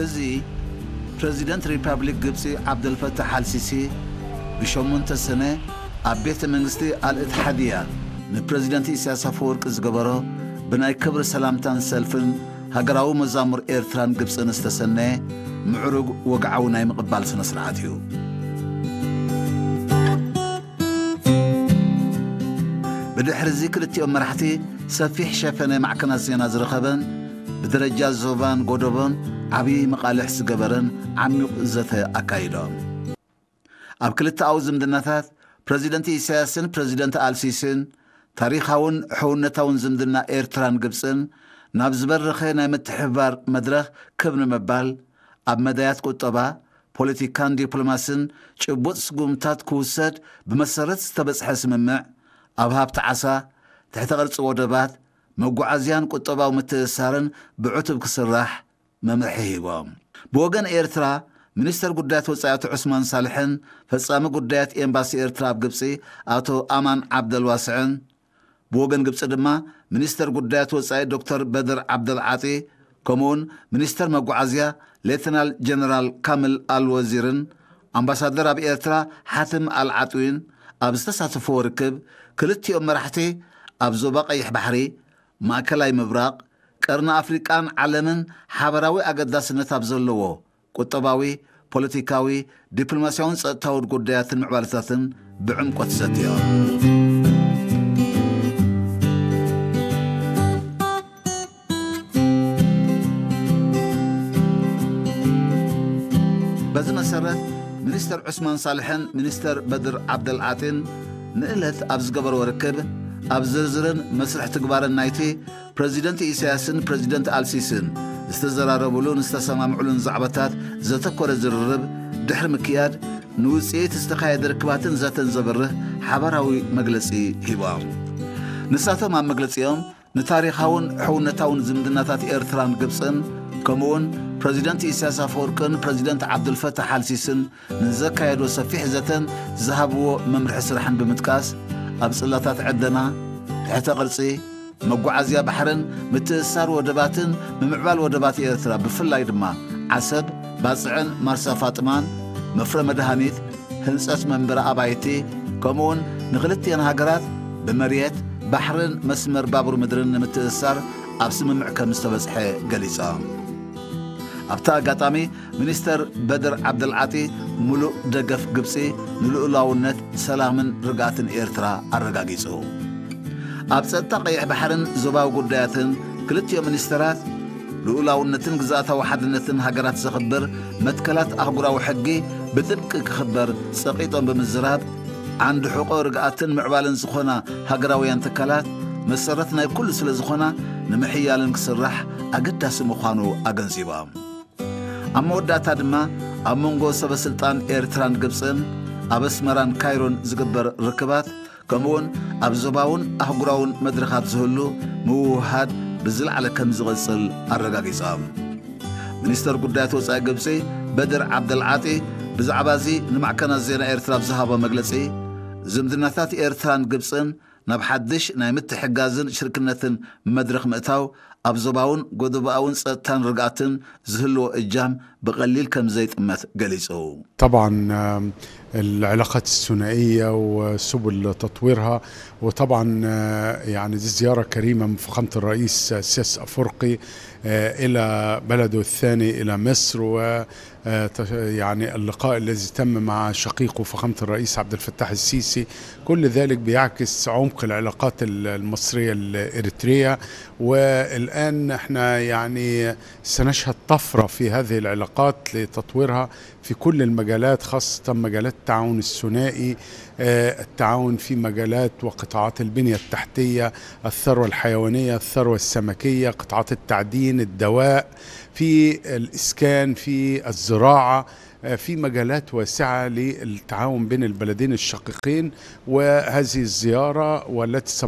እዚ ፕረዚደንት ሪፓብሊክ ግብጺ ዓብደልፈታሕ ኣልሲሲ ብሸሞንተ ሰነ ኣብ ቤተ መንግስቲ ኣልእትሓድያ ንፕረዚደንት ኢሳያስ ኣፈወርቂ ዝገበሮ ብናይ ክብሪ ሰላምታን ሰልፍን ሃገራዊ መዛሙር ኤርትራን ግብጽን ዝተሰነየ ምዕሩግ ወግዓዊ ናይ ምቕባል ስነ ስርዓት እዩ። ብድሕሪ እዚ ክልቲኦም መራሕቲ ሰፊሕ ሸፈነ ማዕከናት ዜና ዝረኸበን ብደረጃ ዞባን ጎደቦን ዓብዪ መቓልሕ ዝገበረን ዓሚቕ ዘተ ኣካይዶም። ኣብ ክልተኣዊ ዝምድናታት ፕረዚደንት ኢሳያስን ፕረዚደንት ኣልሲስን ታሪኻውን ሕውነታውን ዝምድና ኤርትራን ግብጽን ናብ ዝበረኸ ናይ ምትሕብባር መድረኽ ክብ ንምባል ኣብ መዳያት ቁጠባ፣ ፖለቲካን ዲፕሎማስን ጭቡጥ ስጉምታት ክውሰድ ብመሰረት ዝተበጽሐ ስምምዕ ኣብ ሃብቲ ዓሳ፣ ትሕተ ቅርጺ ወደባት፣ መጓዓዝያን ቁጠባዊ ምትእስሳርን ብዕቱብ ክስራሕ መምርሒ ሂቦም። ብወገን ኤርትራ፣ ሚኒስተር ጉዳያት ወጻኢ ኣቶ ዑስማን ሳልሕን ፈጻሚ ጉዳያት ኤምባሲ ኤርትራ ኣብ ግብጺ ኣቶ ኣማን ዓብደልዋስዕን፣ ብወገን ግብጺ ድማ ሚኒስተር ጉዳያት ወጻኢ ዶክተር በድር ዓብደልዓጢ፣ ከምኡውን ሚኒስተር መጓዓዝያ ሌተናል ጀነራል ካምል ኣልወዚርን ኣምባሳደር ኣብ ኤርትራ ሓትም ኣልዓጥዊን ኣብ ዝተሳተፍዎ ርክብ፣ ክልቲኦም መራሕቲ ኣብ ዞባ ቀይሕ ባሕሪ፣ ማእከላይ ምብራቕ፣ ቀርኒ ኣፍሪቃን ዓለምን ሓበራዊ ኣገዳስነት ኣብ ዘለዎ ቁጠባዊ፣ ፖለቲካዊ፣ ዲፕሎማስያውን ጸጥታውን ጉዳያትን ምዕባለታትን ብዕምቆት ዘትዮም። በዚ መሰረት፣ ሚኒስተር ዑስማን ሳልሕን ሚኒስተር በድር ዓብደልዓጢን ንእለት ኣብ ዝገበርዎ ርክብ፣ ኣብ ዝርዝርን መስርሕ ትግባርን ናይቲ ፕረዚደንት ኢሳያስን ፕረዚደንት ኣልሲስን ዝተዘራረቡሉን ዝተሰማምዑሉን ዛዕባታት ዘተኮረ ዝርርብ ድሕሪ ምክያድ፣ ንውጽኢት ዝተኻየደ ርክባትን ዘተን ዘብርህ ሓባራዊ መግለጺ ሂቦም። ንሳቶም ኣብ መግለጺኦም፣ ንታሪኻውን ሕውነታውን ዝምድናታት ኤርትራን ግብጽን፣ ከምኡውን ፕረዚደንት ኢሳያስ ኣፈወርቅን ፕረዚደንት ዓብዱልፈታሕ ኣልሲስን ንዘካየዶ ሰፊሕ ዘተን ዝሃብዎ መምርሒ ስራሕን ብምጥቃስ፣ ኣብ ጽላታት ዕደና፣ ትሕተ ቅርጺ፣ መጓዓዝያ ባሕርን ምትእስሳር ወደባትን ምምዕባል ወደባት ኤርትራ፣ ብፍላይ ድማ ዓሰብ፣ ባጽዕን ማርሳ ፋጥማን፣ መፍረ መድሃኒት፣ ህንጸት መንበሪ ኣባይቲ፣ ከምኡውን ንኽልቲአን ሃገራት ብመሬት፣ ባሕርን መስመር ባቡር ምድርን ንምትእስሳር ኣብ ስምምዕ ከም ዝተበጽሐ ገሊጾም። ኣብቲ ኣጋጣሚ፣ ሚኒስተር በድር ዓብደልዓጢ፣ ምሉእ ደገፍ ግብጺ ንልኡላውነት፣ ሰላምን ርግኣትን ኤርትራ ኣረጋጊጹ። ኣብ ጸጥታ ቀይሕ ባሕርን ዞባዊ ጉዳያትን ክልቲኦም ሚኒስተራት፣ ልኡላውነትን ግዝኣታዊ ሓድነትን ሃገራት ዘኽብር መትከላት ኣህጉራዊ ሕጊ ብጥብቂ ክኽበር ጸቒጦም ብምዝራብ፣ ዓንዲ ሕቖ ርግኣትን ምዕባለን ዝኾና ሃገራውያን ትካላት መሰረት ናይ ኩሉ ስለ ዝኾና፣ ንምሕያለን ክስራሕ ኣገዳሲ ምዃኑ ኣገንዚቦም። ኣብ መወዳእታ ድማ፣ ኣብ መንጎ ሰበ ስልጣን ኤርትራን ግብጽን፣ ኣብ ኣስመራን ካይሮን ዝግበር ርክባት፣ ከምኡውን ኣብ ዞባውን ኣህጉራውን መድረኻት ዝህሉ ምውህሃድ ብዝለዓለ ከም ዝቕጽል ኣረጋጊጾም። ሚኒስተር ጉዳያት ወጻኢ ግብጺ በድር ዓብደልዓጢ ብዛዕባ እዚ ንማዕከናት ዜና ኤርትራ ኣብ ዝሃቦ መግለጺ፣ ዝምድናታት ኤርትራን ግብጽን ናብ ሓድሽ ናይ ምትሕግጋዝን ሽርክነትን መድረኽ ምእታው፣ ኣብ ዞባውን ጎደቦኣውን ጸጥታን ርግኣትን ዝህልዎ እጃም ብቐሊል ከም ዘይጥመት ገሊጹ። طبعا، آم، العلاقات الثنائية وسبل تطويرها، وطبعا، آه، يعني دي زيارة كريمة من فخامة الرئيس السياسي الأفريقي، آه، إلى بلده الثاني إلى مصر، و آه، تش-، يعني اللقاء الذي تم مع شقيقه فخامة الرئيس عبد الفتاح السيسي، كل ذلك بيعكس عمق العلاقات ال-، المصرية الإريترية. والآن احنا يعني سنشهد طفرة في هذه العلاقات لتطويرها في كل المجالات، خاصة مجالات التعاون الثنائي، آه، التعاون في مجالات وقطاعات البنية التحتية، الثروة الحيوانية، الثروة السمكية، قطاعات التعدين، الدواء، في الإسكان، في الزراعة، آه، في مجالات واسعة للتعاون بين البلدين الشقيقين. وهذه الزيارة والتي